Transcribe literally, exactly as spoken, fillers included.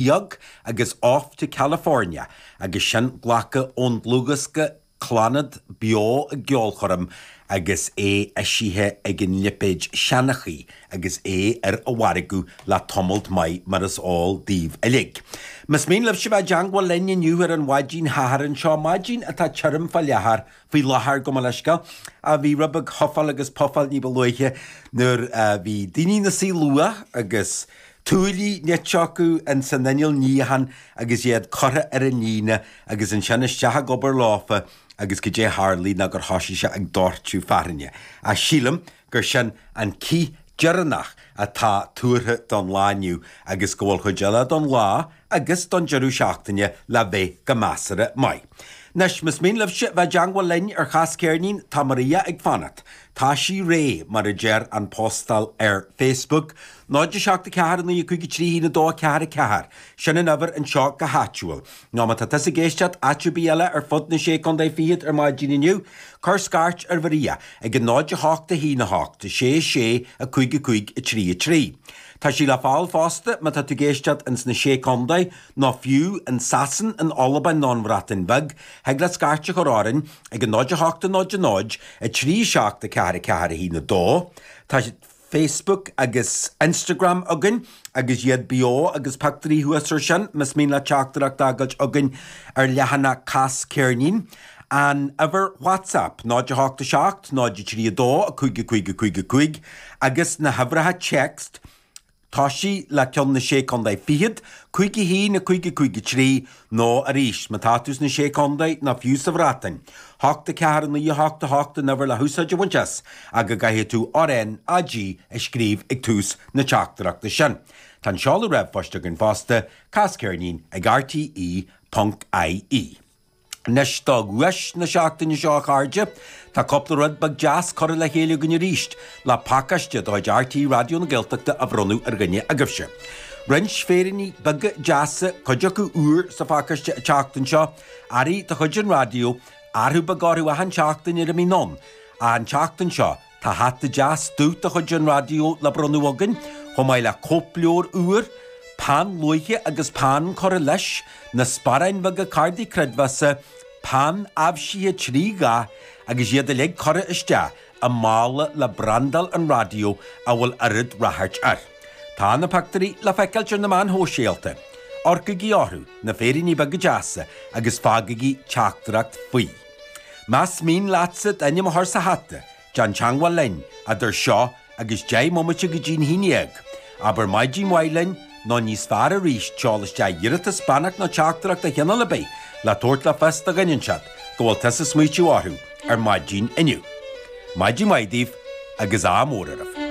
Beag agus Off to California agus sin glactha ón dlúthdhiosca Clannad Beo i gCeolchoirm agus é eisithe ag an lipéad Seanchaí agus é ar an mhargadh le tamalt maith mar is eol daoibh uilig. Más mian libhse bheith i dteangmháil linn inniu ar an mhaidin Shathairn seo, maidin atá tirim fá láthair, faoi láthair gabh mo leithscéal, a bhí rud beag hufáil agus pufáil ní ba luaithe nuair a bhí daoine ina suí luath agus tuaillí nite acu in san inneall níocháin agus iad curtha ar an líne agus ansin isteach ag obair leofa agus goidé tharlaigh ná gur thoisigh sé ag doirteadh fearthainne. Ach sílim gur sin an cith deireanach atá tuartha don lá inniu agus go bhfuil chuid eile don lá agus don deireadh seachtaine le bheith go measartha maith. Anois, más mian libhse bheith i dteangmháil linn ar Chas Ceirnín, tá Maria ag fanacht. Tá sí réidh, mar a deir an postáil ar Facebook. náid a seacht a ceathair a naoi a cúig a trí a haon a dó a ceathair a ceathair. Sin an uimhir anseo go háitiúil. Nó má tá tusa ag éisteacht áit ar bith eile ar fud na Sé Contae Fichead ar maidin inniu, cuir scairt ar Mharia ag a náid a hocht a haon a hocht a sé sé a cúig a cúig a trí a trí. Tá sí le fáil fosta má tá tú ag éisteacht ins na Sé Contae nó fiú in Sasain, in Albain nó an Bhreatain Bheag, thig leat scairt a chur orainn ag a náid a hocht a náid a náid a trí seacht a ceathair a ceathair a haon a dó. Tá Facebook agus Instagram againn agus iad beo agus pictiúirí thuas ar sin, más mian leat teachtaireacht a fhágáilt chugainn ar leathanach Cas Ceirnín. An uimhir WhatsApp, náid a hocht a seacht, náid a trí a dó, a cúig a cúig a cúig a cúig, agus na huimhreacha text, tosaigh le ceann na Sé Contae Fichead, cúig a haon, a cúig a cúig a trí, nó arís, má tá tú sna Sé Contae nó fiú sa Bhreatain, hocht a ceathair a naoi a hocht a hocht an uimhir le húsáid a bhaint as, ach go gcaithfidh tú R N A G a scríobh ag tús na teachtaireachta sin. Tá an seoladh ríomhphoist againn fosta, casceirnín ag R T E ponc I E. Anois do dhuais na seachtaine seo a chairde, tá cúpla rud beag deas curtha le chéile againn arís le pacáiste de chuid R T É Raidió na Gaeltachta a bhronnadh ar dhuine agaibhse. Roinnt féiríní beaga deasa, cuid acu úr sa phacáiste an tseachtain seo, earraí de chuid an raidió, athrú beag orthu achan seachtain ar a mbíonn ann. An tseachtain seo, tá hata deas dubh de chuid an raidió le bronnadh againn, chomh maith le cóipleabhar úr, peann luaidhe agus peann curtha leis, na sparáin bheaga cártaí creidmheasa, peann aibhsithe trí dhath agus iad uilig curtha isteach i mála le brandáil an raidió a bhfuil oiread ráchairt air. Tá na pictiúirí le feiceáilt ar na meáin shóisialta. Amharcaigí orthu, na féiríní beaga deasa, agus fágaigí teachtaireacht faoi. Más mian leatsa d'ainm a chur sa hata, déan teangmháil linn idir seo agus deich mbomaite go dtí'n haon dhéag. Abair maidin mhaith linn, nó níos fearr arís, seol isteach iarratas, beannacht nó teachtaireacht de chineál ar bith le tabhairt le fios do dhuine inteacht go bhfuil tusa ag smaoitiú orthu ar maidin inniu. Maidin mhaith daoibh agus ádh mór oraibh.